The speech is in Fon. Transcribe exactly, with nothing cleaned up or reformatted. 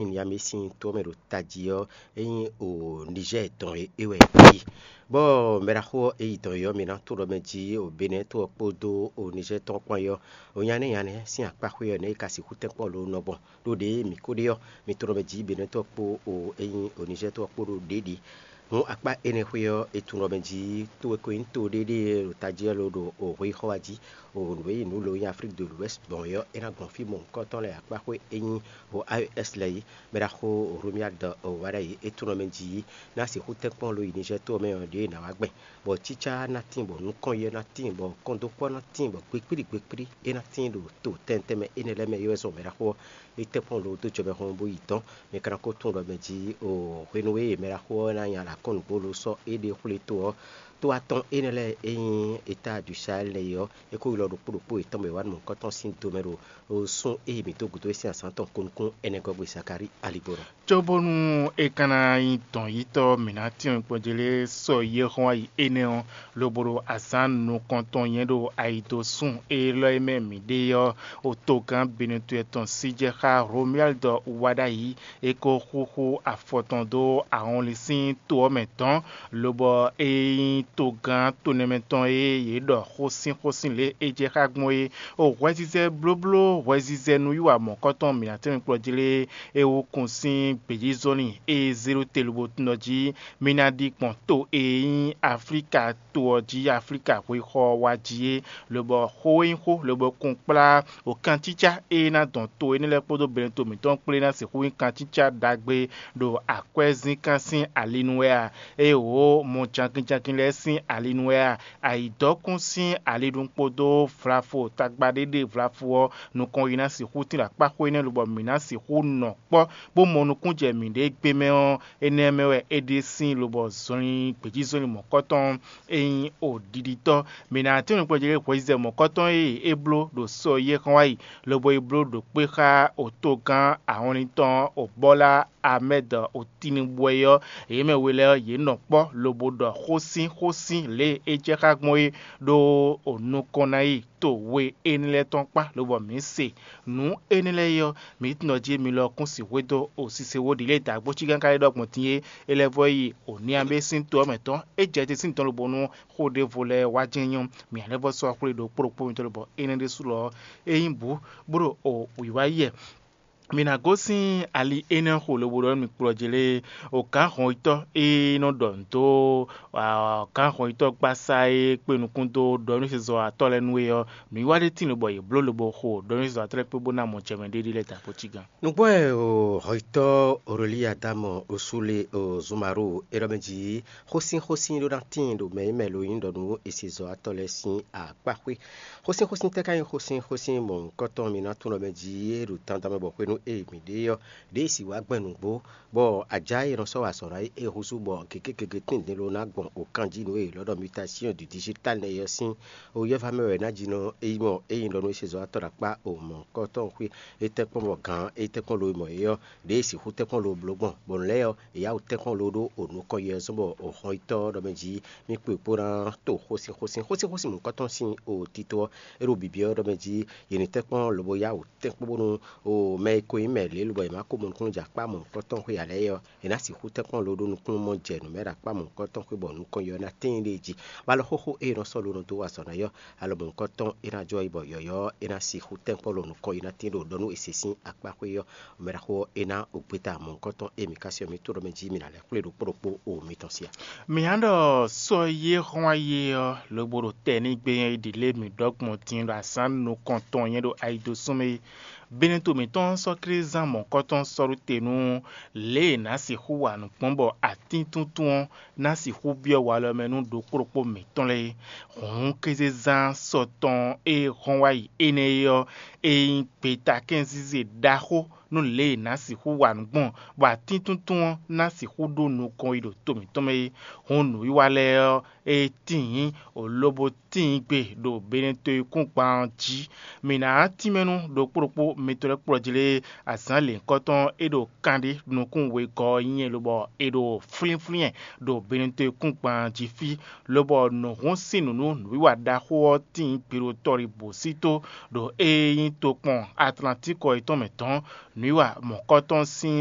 Niyami sín to ɔ́ mɛ ɖo tají ɔ́, é nyí o Nizɛ́ɛ tɔn e é wɛ é yi. Bɔ mɛɖaxó ɔ́, é yi dɔn yɔ́ mì ná to ɖɔ mɛ jí o Benɛ́ɛ to ɔ́ kpódó o Nizɛ́ɛ tɔn kpán yɔ́, o nyanɛ́ nyanɛ́ sín akpáxwé ɔ́ nɛ́ é ka sixú tɛ́nkpɔ́n lo nɔ gbɔn. Ɖó ɖěe mǐ ko ɖe ɔ́, mi to ɖɔ mɛ jí Benɛ́ɛ to ɔ́ kpó o é nyí o Nizɛ́ɛ to ɔ́ kpó ɖo ɖě ɖi. Hǔn akpá énɛ́ xwé ɔ́, è tunwun ɖɔ mɛ jí to e ko nyí to ɖé ɖíe ɖo tají ɔ́ lo ɖo o hweyixɔ wá jí. O nǔ e nyí nǔ lo nyí Aflík de l'Ouest gbɔn é ɔ́, é ná gbɔn fí mɔ̌hunkɔtɔn lɛ́ɛ akpáxwé e nyí o A E S lɛ́ɛ é. Mɛɖaxó Romuald Wadagni é tunwun ɖɔ mɛ jí ná sixú tɛ́nkpɔ́n lo yi Nizɛ́ɛ to ɔ́ mɛ ɔ́, ɖěe è nǎ wá gbɛn, bɔ cícá ná tíin, bɔ nukɔn yɛ ná tíin, bɔ kɔndókpɔ́ ná tíin, bɔ gbekpíɖi gbekpíɖi é ná tíin ɖo to tɛntɛn mɛ énɛ́ lɛ́ɛ mɛ é wɛ zɔn mɛɖaxó ɔ́ é tɛ́nkpɔ́n lo dó jɔ mɛ hɔn bó yi dɔn. Mi ka ná ko tunwun ɖɔ mɛ jí o hwenu e mɛɖaxó ɔ́ ná nya ɖo akɔ́nǔgbó lo sɔ́ éɖée xwlé to ɔ́, to atɔn énɛ́ lɛ́ɛ e nyí Étá du Sahɛ́l lɛ́ɛ é ɔ́, é ko ylɔ́ ɖokpó ɖokpó yětɔn bɔ è wá nɔ mɔ̌hunkɔtɔn sín do mɛ ɖo o sún e yi mǐ dó gǔdo é sín azǎn tɔn ko nukún ɛnɛ gɔ́ gbe Zakalíi aligbɔnɔ. Cóbónú é ka ná nyí dɔ̌nyitɔ́ mǐ ná tyɔ́n kpɔ́n jí lé sɔ yi e hɔn ayi énɛ́ ɔ́, lobo ɖo azǎn nukɔntɔn nyɛ ɖo ayidosún élɔ́ e mɛ mǐ ɖe ɔ́, otogán Benɛtɔ́ tɔn sí jɛ xá Romuald Wadagni, é ko xúxú afɔ tɔn dó ahɔnlin sín to ɔ́ mɛ dɔ̌n, lobɔ é nyí togán tonɛmɛtɔn e yě ɖɔ xósínxósín lě e jɛ xá gbɔn é. O hwɛzizɛ blóbló, hwɛzizɛ nǔwiwa mɔ̌kɔtɔn mǐ ná tɛ́nmɛ kplɔ́ jí lé é wú kun sín gbějízɔ́nlin e zé ɖó te lobo tunwun jí mì ná ɖi gbɔn to e nyí Aflíka to ɔ́ jí, Aflíka hwexɔ wá jí é, lobɔ xó e nyí xó, lobo kun kplá o kancícá e ná dɔn to énɛ́ lɛ́ɛ kpódó Benɛto mǐtɔn kplé ná sixú nyí kancícá ɖagbe ɖo akwɛ́zínkán sín ali nu wɛ a? Éeǒ, mɔ jankinjankin lɛ́ɛ sín ali nu wɛ a? Ayǐdɔ́kún sín ali nu kpódó vlafo tagba ɖé ɖe vlafo ɔ́ nukɔn yi ná sixú tín ɖo akpáxwé énɛ́ lobɔ mǐ ná sixú nɔ kpɔ́ bó mɔ nukúnjɛ mǐɖée gbé mɛ ɔ́, énɛ́ mɛ wɛ é ɖe sín lobɔ zɔnlin gbějízɔnlin mɔ̌kɔtɔn e nyí o ɖiɖitɔ́. Mǐ ná tɛ́nwe kplɔ́ jí lé hwɛzizɛ mɔ̌kɔtɔn e é bló ɖo sɔ yi é xɔ́n wá yi, lobo yi bló ɖo kpé xá otogán ahɔnlin tɔn Obɔ́la Amɛ́d Otinibwɛ ɔ́, yě mɛ we lɛ́ɛ ɔ́, yě nɔ kpɔ́ lobo ɖɔ xósínxósín lě e é jɛ xá gbɔn é, ɖó o nukɔn ná yi to we énɛ́ lɛ́ɛ tɔn kpá, lobɔ mǐ se nǔ énɛ́ lɛ́ɛ é ɔ́, mǐ tunwun ɖɔ jí mi lɔ kún sixwé dó o sise wó ɖi lě e dǎgbócígán ka lɛ́ ɖɔ gbɔn din é, é lɛ́ vɔ yi o niabé sín to ɔ́ mɛ tɔn, é jɛ te sín dɔn lobo nú xó ɖěvo lɛ́ɛ wá jɛ́n nyɔ́, mǐ ná lɛ́ vɔ sɔ́ xwlé ɖokpó ɖokpó mitɔn lobɔ énɛ́ ɖésú lɔ ɔ́, é nyí bǔ bó ɖo o wǐwá yi wɛ. Mǐ ná gosín ali énɛ́ xo lobo ɖɔ nú mì kplɔ́ jí lé, o gǎn hɔnyitɔ́ e nɔ ɖɔ nǔ dó gǎn hɔnyitɔ́ gbasá e kpe nukún dó ɖɔ nú sezɔ́watɔ́ lɛ́ɛ nú é ɔ́, nǔwiwa ɖé tíin lobɔ yě bló lobo xo ɖɔ nú sezɔ́watɔ́ lɛ́ɛ kpé bó ná mɔ jɛ mɛ ɖéɖé lɛ́ɛ dǎgbócígán. Nǔgbó wɛ o hɔnyitɔ́ Orolíadámɔ Osúle o Zunmaru é ɖɔ mɛ jí xósínxósín ɖó ná tíin ɖo mɛ e mɛ lo nyí ɖɔ nú esezɔ́watɔ́ lɛ́ɛ sín akpáxwé. Xósínxósín tɛ́ ka nyí xósínxósín mɔ̌hunkɔtɔn mi ná tunwun ɖɔ mɛ jí é ɖo dandan mɛ bɔ hwenu e mǐ ɖe ɔ́, ɖěe si wǎ gbɛn nǔgbó, bɔ ajá e è nɔ sɔ́ wa azɔ̌ ná é húzú bɔ gěgé gěgé tíndín ló ná gbɔn o kanjí nǔ e è lɔ̌ ɖɔ mutation du digital nɛ́ é ɔ́ sín o yɛ́vá mɛ wɛ ná jí nɔ é nyí mɔ é nyí ɖɔ nú é se zɔ́watɔ́ ɖo akpá o mɔ̌hunkɔtɔn xwé é tɛ́nkpɔ́n bɔ gǎn é tɛ́nkpɔ́n lo mɔ é ɔ́, ɖěe sixú tɛ́nkpɔ́n lo bló gbɔn, bɔ nǔ lɛ́ɛ ɔ́, è yá wǔ tɛ́nkpɔ́n lo ɖó o nukɔn yɛ ɔ́ zɔ́n bɔ o hɔn yi tɔ́ ɔ́ ɖɔ mɛ jí mì kpo kpó ná to xósínxósín xósínxósín mɔ̌hunkɔtɔn sín o tito ɔ́, é ɖo bǐbí ɔ́ ɖɔ mɛ jí yě ní tɛ́nkpɔ́n lobo yá wǔ tɛ́nkpɔ́n bónú o mɛ e ko nyí mɛ lě lobɔ è nǎ ko mɔ nukúnnú jɛ akpá mɔ̌hunkɔtɔn xwé ǎ lɛ́ɛ ɔ́, è nǎ sixú tɛ́nkpɔ́n lo ɖó nukúnnú mɔ jɛ nǔ mɛ ɖo akpá mɔ̌hunkɔtɔn xwé bɔ nukɔn yɛ ɔ́ ná tíin ɖ'é jí. Bɔ alɔ xóxó e è nɔ sɔ́ lo nɔ dó wa azɔ̌ ná yɔ́, alɔ mɔ̌hunkɔtɔn é ná jɔ yi bɔ yɔ̌yɔ́ ɔ́ é ná sixú tɛ́nkpɔ́n lo nukɔn yi ná tíin ɖo ɖɔ nú è se sín akpá xwé ɔ́, mɛɖaxó ɔ́ é ná o gbeta mɔ̌hunkɔtɔn e mǐ ka se ɔ́ mǐ to ɖɔ mɛ jí mǐ ná lɛ́ xwlé ɖokpó ɖokpó o mitɔn sí a? Mǐ ná ɖɔ sɔ́ yé hɔn ayé ɔ́ lobo ɖo tɛ́ n'i gbé nyɛ yi ɖi lě mǐ ɖɔ gbɔn din ɖo azǎn nukɔntɔn nyɛ ɖo ayidosún mɛ é. Benɛto mǐtɔn sɔ́ Klízán mɔ̌kɔtɔn sɔ́ ɖó te nú lě e è nǎ sixú wa nǔ gbɔn bɔ atíntúntún ɔ́ ná sixú byɔ́ walɔ mɛ nú ɖokpó ɖokpó mǐtɔn lɛ́ɛ é. Hǔn kézezán sɔ tɔn e hɔn wá yi énɛ́ é ɔ́, é nyí gbetakɛ́nzíze ɖaxó nú lě e è nǎ sixú wa nǔ gbɔn, bɔ atíntúntún ɔ́ ná sixú ɖó nukɔn yi ɖo to mǐtɔn mɛ é. Hǔn nǔwiwa lɛ́ɛ ɔ́, é tíin, lobo tíin gbe ɖo Benɛto e kún gban ɔ́ jí. Mǐ ná tínmɛ nú ɖokpó ɖokpó mitɔn lɛ́ɛ kplɔ́ jí lé azǎn lěhunkɔtɔn e ɖo kanɖé nukún wegɔ́ ɔ́ nyí lobɔ è ɖo flínflín ɛ ɖo Benɛto e kún gban jí fí, lobɔ nǔhún sín nǔ nú nǔwiwa ɖaxó ɔ́ tíin gbe ɖo tɔ́ ɖěbǔ sí tó ɖo e nyí tokpɔn Atlantíkɔ é tɔn mɛ tɔn, nǔwiwa mɔ̌kɔtɔn sín